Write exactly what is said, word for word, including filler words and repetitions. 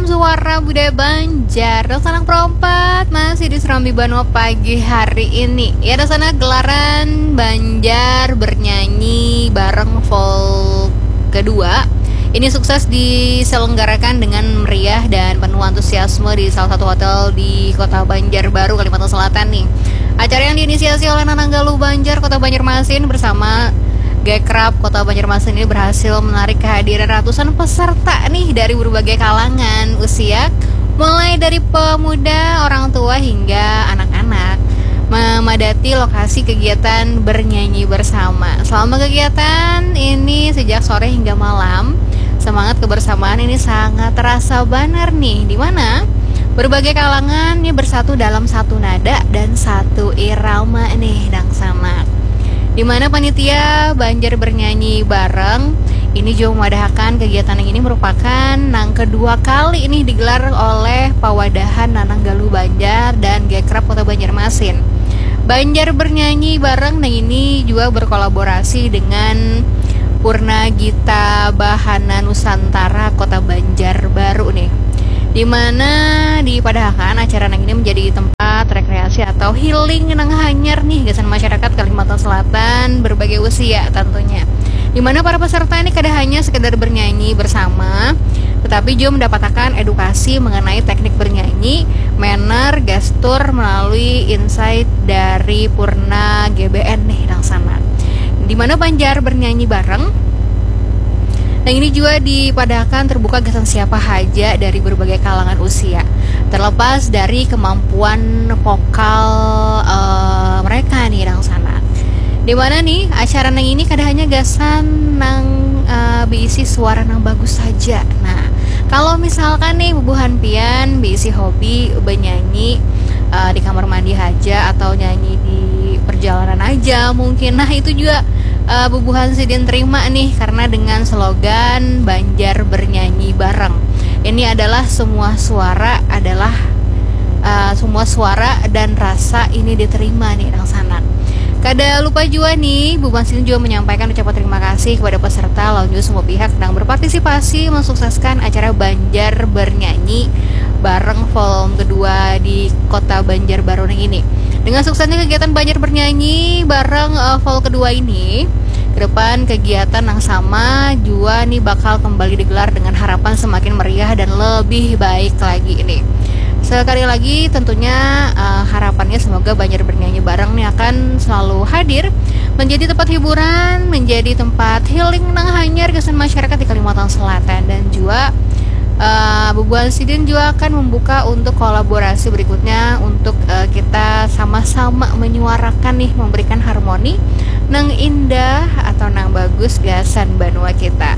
Suara Budaya Banjar, Dangsanak Perompat masih di Serambi Banua pagi hari ini. Ya, Dangsanak, gelaran Banjar bernyanyi bareng Vol kedua ini sukses diselenggarakan dengan meriah dan penuh antusiasme di salah satu hotel di Kota Banjarbaru, Kalimantan Selatan nih. Acara yang diinisiasi oleh Nanang Galuh Banjar Kota Banjarmasin bersama Gekrab Kota Banjarmasin ini berhasil menarik kehadiran ratusan peserta nih dari berbagai kalangan usia, mulai dari pemuda, orang tua, hingga anak-anak, memadati lokasi kegiatan bernyanyi bersama. Selama kegiatan ini sejak sore hingga malam, semangat kebersamaan ini sangat terasa banar nih, di mana berbagai kalangan ini bersatu dalam satu nada dan satu irama nih, Dangsanak. Di mana panitia Banjar bernyanyi bareng ini juga memadahakan kegiatan yang ini merupakan nang kedua kali ini digelar oleh pawadahan Nanang Galuh Banjar dan Gekrab Kota Banjarmasin. Banjar bernyanyi bareng nang ini juga berkolaborasi dengan Purna Gita Bahana Nusantara Kota Banjarbaru nih, di mana dipadahakan acara nang ini menjadi tempat rekreasi atau healing nang hanyar nih gasan masyarakat Kalimantan Selatan berbagai usia tentunya, di mana para peserta ini kada hanya sekedar bernyanyi bersama, tetapi juga mendapatkan edukasi mengenai teknik bernyanyi, manner, gestur melalui insight dari Purna G B N nih, Dangsanak. Di mana Banjar bernyanyi bareng, nah, ini juga dipadahakan terbuka gasan siapa haja dari berbagai kalangan usia, terlepas dari kemampuan vokal eh, mereka nih, Dangsanak. Di mana nih acara nang ini kada hanya gasan nang eh, berisi suara nang bagus saja. Nah, kalau misalkan nih bubuhan pian berisi hobi bernyanyi eh, di kamar mandi aja atau nyanyi di perjalanan aja mungkin, nah, itu juga eh, bubuhan sidin terima nih, karena dengan slogan Banjar bernyanyi bareng, ini adalah semua suara adalah eh, semua suara dan rasa ini diterima nih, Dangsanak. Kada lupa juga nih, bubuhan sidin juga menyampaikan ucapan terima kasih kepada peserta lawan juga semua pihak yang berpartisipasi mensukseskan acara Banjar Bernyanyi bareng Vol kedua di Kota Banjarbaru nang ini. Dengan suksesnya kegiatan Banjar Bernyanyi bareng eh, Vol kedua ini, ke depan kegiatan yang sama juga nih bakal kembali digelar dengan harapan semakin meriah dan lebih baik lagi ini. Sekali lagi, tentunya eh, harapannya semoga Banjar Bernyanyi bareng nih akan selalu hadir menjadi tempat hiburan, menjadi tempat healing nang hanyar gasan masyarakat di Kalimantan Selatan, dan juga eh, bubuhan sidin juga akan membuka untuk kolaborasi berikutnya untuk eh, kita sama-sama menyuarakan nih, memberikan harmoni nang indah atau nang bagus gasan banua kita.